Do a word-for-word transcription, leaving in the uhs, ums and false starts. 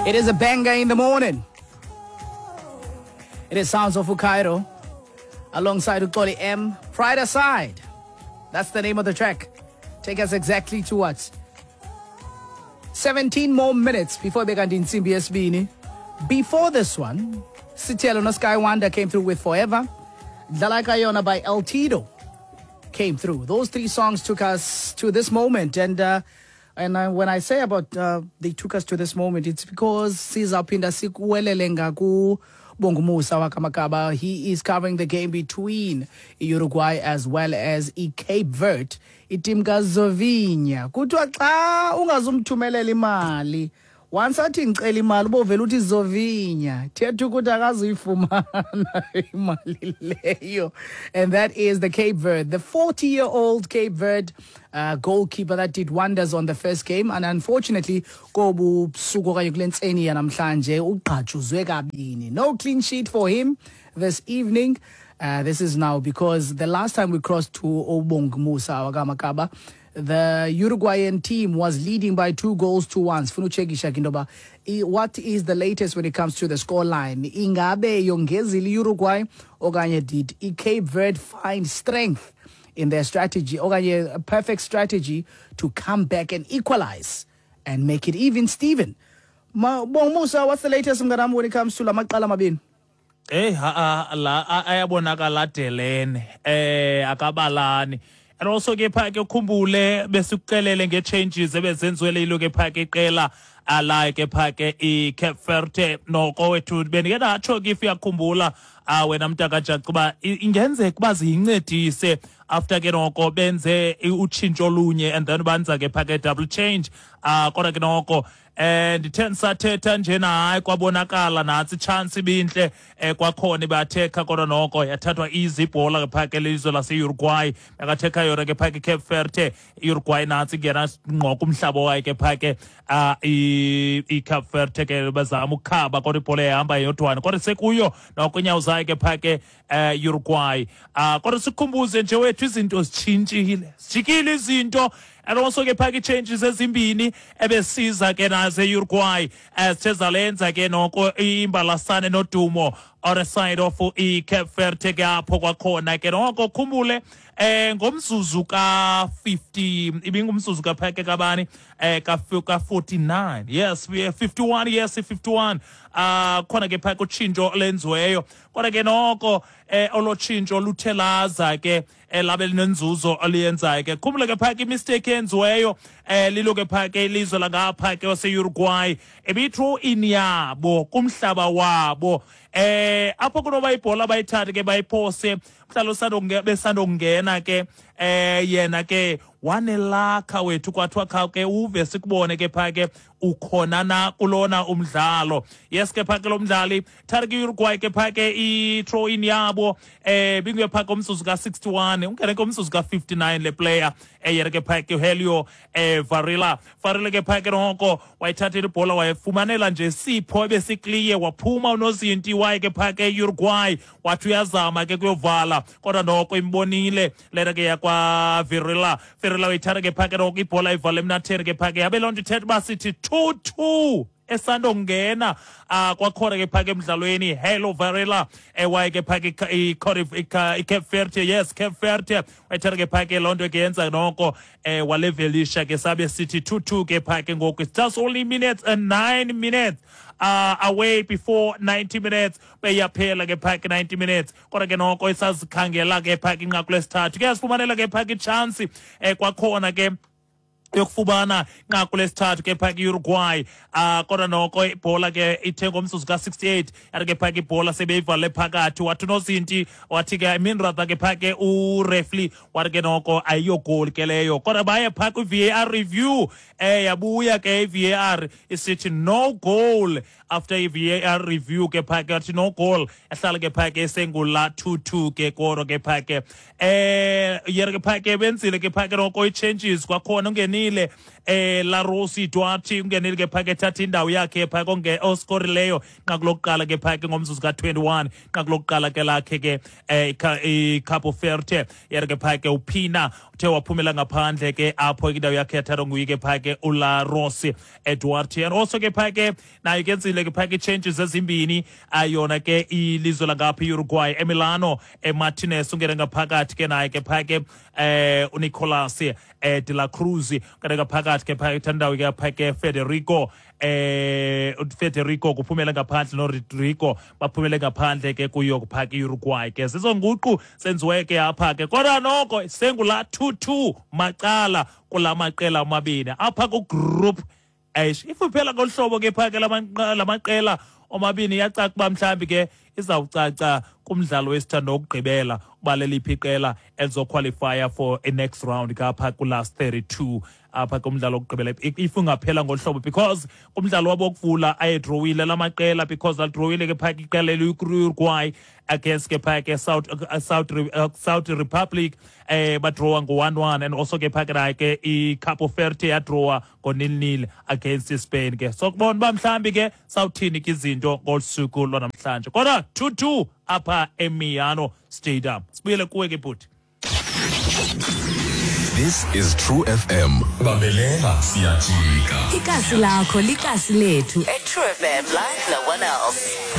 It is a banger in the morning. It is Sounds of Ukairo alongside Uxoli M. Pride Aside. That's the name of the track. Take us exactly to what? seventeen more minutes before bekanti intsimbi yesibini. Before this one, Sithelo no Sky Wonder came through with Forever. Dlalakayona by El Tito came through. Those three songs took us to this moment. And uh, and uh, when I say about uh, they took us to this moment, it's because sizawuphinda sikuwelele ngaku Bongumusa wakaMakaba. He is covering the game between Uruguay as well as i-Cape Verde. Iteam kaZovinya. Kuthiwa xa ungazumthumelela imali, once athi ngicela imali, ubovela uthi Zovinya. Thetha ukuthi akazuyifumana imali leyo. And that is the Cape Verde, the forty-year-old Cape Verde uh, goalkeeper that did wonders on the first game. And unfortunately, kobu busuku okanye kule ntseni yanamhlanje ugqajuzwe kabini. No clean sheet for him this evening. Uh, this is now because the last time we crossed to Obongmusa wakaMakaba, the Uruguayan team was leading by two goals to one. Sifuna uchekisha ke into yoba, what is the latest when it comes to the scoreline? Ingabe yongezile Uruguay okanye did i-Cape Verde find strength in their strategy okanye a perfect strategy to come back and equalize and make it even, Steven? Ma Bongmusa, what's the latest, mnganami, when it comes to la maqela mabini? Eh ha la ayabonakala adelene, eh akabalani. And also ke pha ke ukhumbule besikuxelele nge-changes ebezenziwe lilo ke pha ke iqela ala ke pha ke i-Cape Verde. Noko wethu bendike ndatsho ke, if uyakhumbula wena mntakajaca, uba ingenzeka uba ziyincedise after ke noko benze utshintsho olunye and then banza ke pha ke double change. uh kodwa ke noko eh ndithe ndisathetha njena, hayi, kwabonakala nantsi ichance ibintle eh kwakhona ibathekha, kodwa noko yathathwa easy ibhola ke phaa ke lelizwe lase-Uruguay. Yakathekha yona ke phaa ke Cape Verde. I-Uruguay nantsi ingena ngqo kumhlaba wayo ke phaa ke uh, i-Cape Verde ke, bazama ukukhaba kodwa ibhola yahamba yodwana, kodwa sekuyo noko inyawo zayo ke phaa ke uh, Uruguay. uh, kodwa sikhumbuze nje wethu, izinto zitshintshile, zijikile izinto. And also ke phaa changes ezimbini ebesiza ke nazo e-Uruguay zithe zalenza ke noko imbalasane nodumo on the side of i-Cape Verde ke apho kwakhona ke noko khumbule eh ngomzuzu ka-fifty, ibingumzuzu kapheke kabani, eh ka-forty-nine, yes, fifty-one, yes, fifty-one. ah khona ke phaka utshintsho lenziweyo, kodwa ke noko eh olo tshintsho luthe laza ke labe linenzuzo oliyenzayo ke. Khumbule ke phaka imistake eyenziweyo eh lilo ke phaka ilizwe langapha ke wase-Uruguay, ebiyi-throw in yabo kumhlaba wabo eh apho kunoba ibhola bayithathe ke bayiphose mhlalo besandokungena ke eh yena ke wanelakha wethu, kwathiwa kha ke uve sikubone ke phaa ke ukhona na kulona umdlalo. Yes ke phaa ke lo mdlali thatha ke Uruguay ke phaa ke i-throw in yabo eh binguye phaa komzuzu ka-sixty-one, ungene ke umzuzu ka-fifty-nine le player eh yena ke phaa ke Helio eh Varela. Varela ke phaa ke noko wayithathela ibhola, wayefumanela nje sipho ebesikliye, waphuma unozinti waye ke phaa ke Uruguay, wathi uyazama ke kuyovala, kodwa noko imbonile lena ke yakwa Varela. Varela uyithatha ke phaa ke noko ibhola, ivale emnatheni ke phaa ke, yabe loo nto ithetha uba sithi two two esandongena uh, kwakhona ke phaka emdlalweni Helio Varela ewaye ke phaka i-Cape Verde. Yes, Cape Verde wayithatha ke phaka loo nto ke yenza noko eh walevelisha ke, sabe sithi two two ke phaka ngoku. It's just only minutes and nine minutes uh, away before ninety minutes beyaphela ke phaka ninety minutes, kodwa ke noko isazikhangela ke phaka inqaku lesithathu ke, yasifumanela ke phaka itshansi eh kwakhona ke yokufumana inqaku lesithathu ke phaka i-Uruguay. uh, kodwa noko ibhola ke ithe ngomzuzu ka-sixty-eight yathi ke phaka ibhola sebeyivale phakathi, wathi unozinti, wathi ke, I mean rather ke phaka ureferee wathi ke noko ayiyogoli ke leyo, kodwa baye phaa kwi-V A R review. eh yabuya ke i-V A R isithi no goal. After i-V A R review ke phaka yathi no goal, yahlala ke phaka esengula two two ke. Kodwa ke phaka eh yena ke phaka benzile ke phaka noko i-changes kwakhona, ungenile eh Larossi Duarte ungenile ke phake ethatha indawo yakhe phake onge oskorileyo inqaku lokuqala ke phake ngomzuzu ka twenty-one, inqaku lokuqala ke lakhe ke eh iCabo Verde. Yena ke phake uPina uthe waphumela ngaphandle ke apho, indawo yakhe yathathwa nguye ke phake uLarossi Duarte. And also ke phake nayo kenzile ke phake changes ezimbini ayona ke ilizwe langapha iUruguay. Emiliano Martinez ungene ngaphakathi ke naye ke phake, eh uNicolas eh de la Cruz ungene ngaphakathi ke phake, indawo ke phake Federico eh Federico kuphumela ngaphandle, noRodrigo baphumele ngaphandle ke kuyo kuphaka iUruguay ke. Zizonguqu senziwe ke apha ke, kodwa noko sengula two two macala kulamaqela amabini apha ku Group H. If uphela ngolu hlobo ke phake lamaqela omabini, iyacaca uba mhlawumbi ke izawucaca kumdlalo wesithando wokugqibela uba leliphi iqela elizoqualifya for a next round kapha ku-last thirty-two apha kumdlalo wokugqibela, if ungaphela ngolu hlobo, because kumdlalo wabo wokuvula ayedrowile la maqela, because adrowile ke phaka iqela eliyi-Uruguay against ke phaka ke South uh, South uh, South Republic, eh badrowa ngo one one, and also ke phaka naye ke iCabo Verde yadrowa ngo nil nil against Spain ke. So kubona uba mhlambi ke sawuthini ke izinto ngolu suku lwanamhlanje, kodwa two two apha eMiano Stadium. Sibuyele kuwe ke, bhuti. This is True F M. Bambelela, siyajika. Ikasi lakho likasi lethu. At True F M, like no one else.